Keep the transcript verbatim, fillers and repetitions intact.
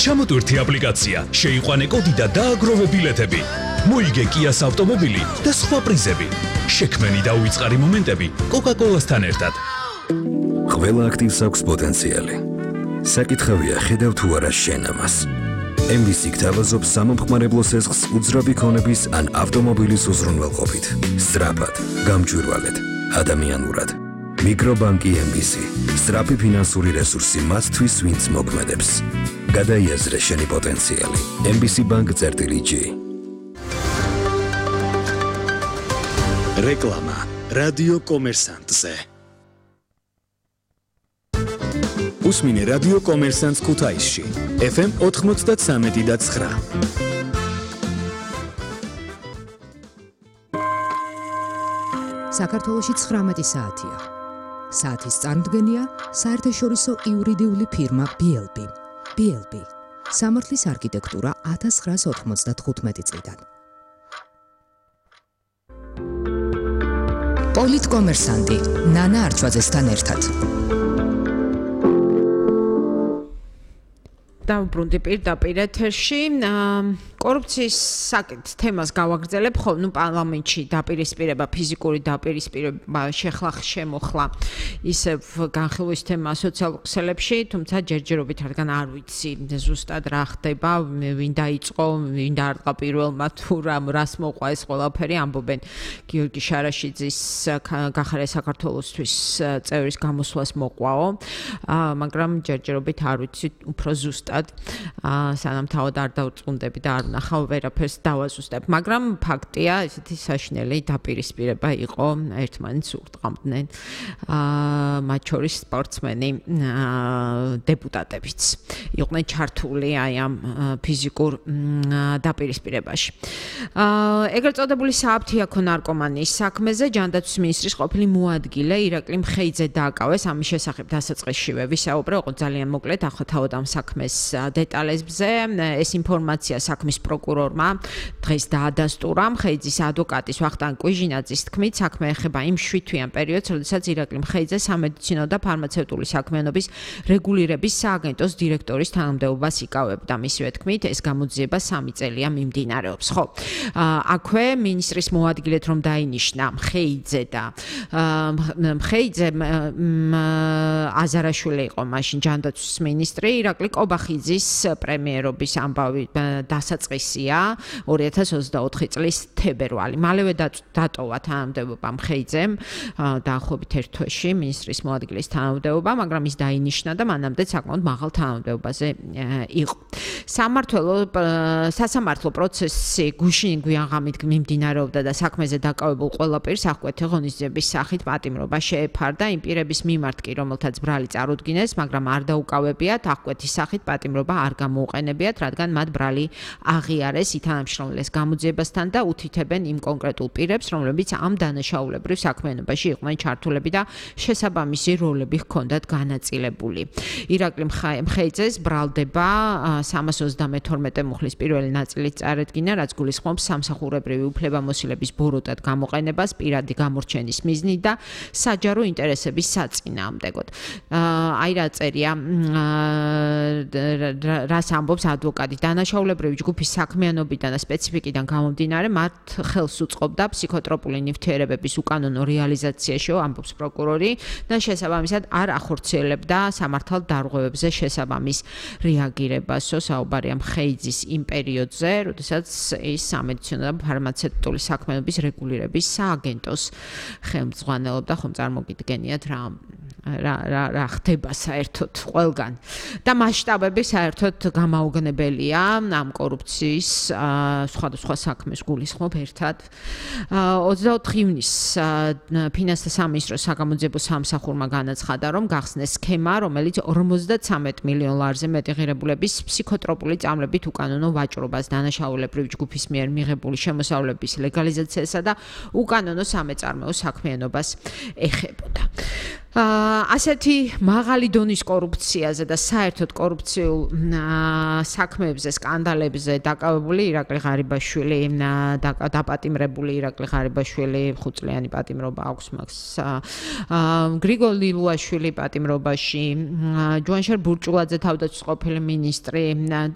ჩამოტვირთი აპლიკაცია, შეიყვანე კოდი და დააგროვე ბილეთები. მოიგე Kia-ს ავტომობილი და სხვა პრიზები. შექმენი და უიწყარი მომენტები Coca-Cola-სთან ერთად. ყველა აქტივს აქვს პოტენციალი. საკითხავია ხედავ თუ არა შენ ამას. ემ ვი სი გთავაზობს სამომხმარებლო სესხს უძრავი ქონების ან ავტომობილის უზრუნველყოფით. სწრაფად, გამჭვირვალედ, ადამიანურად. მიკრობანკი ემ ვი სი. სწრაფი ფინანსური რესურსი მათთვის, ვინც მოქმედებს. გადაიაზრე შენი პოტენციალი. ემ ვი სი ბანკ წერტილი ჯი. რეკლამა რადიო კომერსანტზე. უსმინე რადიო კომერსანტს ქუთაისში. ეფ ემ ოთხმოცდათსამეტი და ცხრა. საქართველოში ცხრამეტი საათია. საათის წარმოდგენია საერთაშორისო იურიდიული ფირმა ბი ელ ბი. ბი ელ ბი. სამართლის არქიტექტურა ათას ცხრაას ოთხმოცდათხუთმეტი წლიდან. პოლიტკომერსანტი ნანა არჩვაძესთან ერთად. დავუბრუნდი პირდაპირ ეთერში. კორუფციის საკითხ თემას გავაგრძელებ, ხო, ნუ პარლამენტში დაპირისპირება, ფიზიკური დაპირისპირება შეხლა შემოხლა ისევ განხილვის თემა სოციალურ ქსელებში, თუმცა ჯერჯერობით რადგან არ ვიცი ზუსტად რა ხდება, ვინ დაიწყო, ვინ დაარტყა პირველმა თუ რას მოყვა ეს ყველაფერი, ამბობენ გიორგი შარაშიძის გახარე საქართველოსთვის წევრის გამოსვლას მოყვაო, მაგრამ ჯერჯერობით არ ვიცი უფრო ზუსტად, სანამ თავად არ დავწუნდები და არ ნახავ ვერაფერს დავაზუსტებ, მაგრამ ფაქტია, ესეთი საშინელი დაპირისპირება იყო, ერთმანეთს ურტყამდნენ მათ შორის სპორტსმენი დეპუტატებიც იყვნენ ჩართული აი ამ ფიზიკურ დაპირისპირებაში. ეგრეთ წოდებული სააფთიაქო ნარკომანიის საქმეზე ჯანდაცვის მინისტრის ყოფილი მოადგილე ირაკლი მხეიძე დააკავეს, ამის შესახებ დასაწყისშივე ვისაუბრე, იყო ძალიან მოკლედ, ახლა თავად ამ საქმეს დეტალებზე, ეს ინფორმაცია საქმის პროკურორმა დღეს დაადასტურა. მხეიძის ადვოკატის ვახტანგ კვიჟინაძის თქმით, საქმე ეხება იმ შვიდთვიან პერიოდს, როდესაც ირაკლი მხეიძე სამედიცინო და ფარმაცევტული საქმიანობის რეგულირების სააგენტოს დირექტორის თანამდებობას იკავებდა. მისივე თქმით, ეს გამოძიება სამი წელია მიმდინარეობს. ხო, აქვე მინისტრის მოადგილედ რომ დაინიშნა მხეიძე და მხეიძე აზარაშვილი იყო მაშინ ჯანდაცვის მინისტრი, ირაკლი კობახიძის პრემიერობის ამბავი დასაწყისია ორი ათას ოცდაოთხი წლის თებერვალი. მალევე დატოვა თანამდებობა მხეიძემ, დაახლოებით ერთ თვეში მინისტრის მოადგილის თანამდებობა, მაგრამ ის დაინიშნა და მანამდე საკმაოდ მაღალ თანამდებობაზე იყო. სამმართველო სასამართლო პროცესი გუშინ გვიანღამით მიმდინარეობდა და საქმეზე დაკავებულ ყველა პირს აღკვეთი ღონისძიების სახით პატიმრობა შეეფარდა. იმ პირების მიმართ კი, რომელთაც ბრალი წარუდგინეს, მაგრამ არ დაუკავებიათ, აღკვეთის სახით პატიმრობა არ გამოუყენებიათ, რადგან მათ ბრალი აღიარეს ითანამშრომლეს გამოძიებასთან და უთითებენ იმ კონკრეტულ პირებს, რომლებიც ამ დანაშაულებრივ საქმიანობაში იყვნენ ჩართულები და შესაბამისი როლები ჰქონდათ განაწილებული. ირაკლი მხეიძეს ბრალდება სამას ოცდამეთორმეტე მუხლის პირველი ნაწილით წარედგინა, რაც გულისხმობს სამსახურებრივი უფლებამოსილების ბოროტად გამოყენებას, პირადი გამორჩენის მიზნით და საჯარო ინტერესების საწინააღმდეგოდ. აი რა წერია, რას ამბობს ადვოკატი, დანაშაულებრივი ჯგუფის საქმიანობიდან და სპეციფიკიდან გამომდინარე, მათ ხელს უწყობდა ფსიქოტროპული ნივთიერებების უკანონო რეალიზაციაში, ამბობს პროკურორი და შესაბამისად არ ახორციელებდა სამართალ დარღვევებზე შესაბამის რეაგირებასო. საუბარია მხეიძის იმ პერიოდზე, როდესაც ის სამედიცინო და ფარმაცევტული საქმიანობის რეგულირების სააგენტოს ხელმძღვანელობდა, ხომ წარმოგიდგენიათ რა რა რა ხდება საერთოდ ყველგან და მასშტაბები საერთოდ გამაოგნებელია ამ კორუფციის სხვადასხვა საქმეს გულისხმობ ერთად. ოცდაოთხი ივნისს ფინანსთა სამინისტროს საგამოძიებო სამსახურმა განაცხადა, რომ გახსნეს სქემა, რომელიც ორმოცდათსამეტ მილიონ ლარზე მეტი ღირებულების ფსიქოტროპული წამლებით უკანონო ვაჭრობას, დანაშაულებრივი ჯგუფის მიერ მიღებული შემოსავლების ლეგალიზაციასა და უკანონო სამეწარმეო საქმიანობას ეხებოდა. ასეთი მაღალი დონის კორუფციაზე და საერთოდ კორუფციულ საქმეებზე, სკანდალებზე დაკავებული ირაკლი ღარიბაშვილი, დაპატიმრებული ირაკლი ღარიბაშვილი, ხუთწლიანი პატიმრობა აქვს მას. გრიგოლ ლილუაშვილი პატიმრობაში, ჯუანშერ ბურჭულაძე თავდაცვის ყოფილი მინისტრი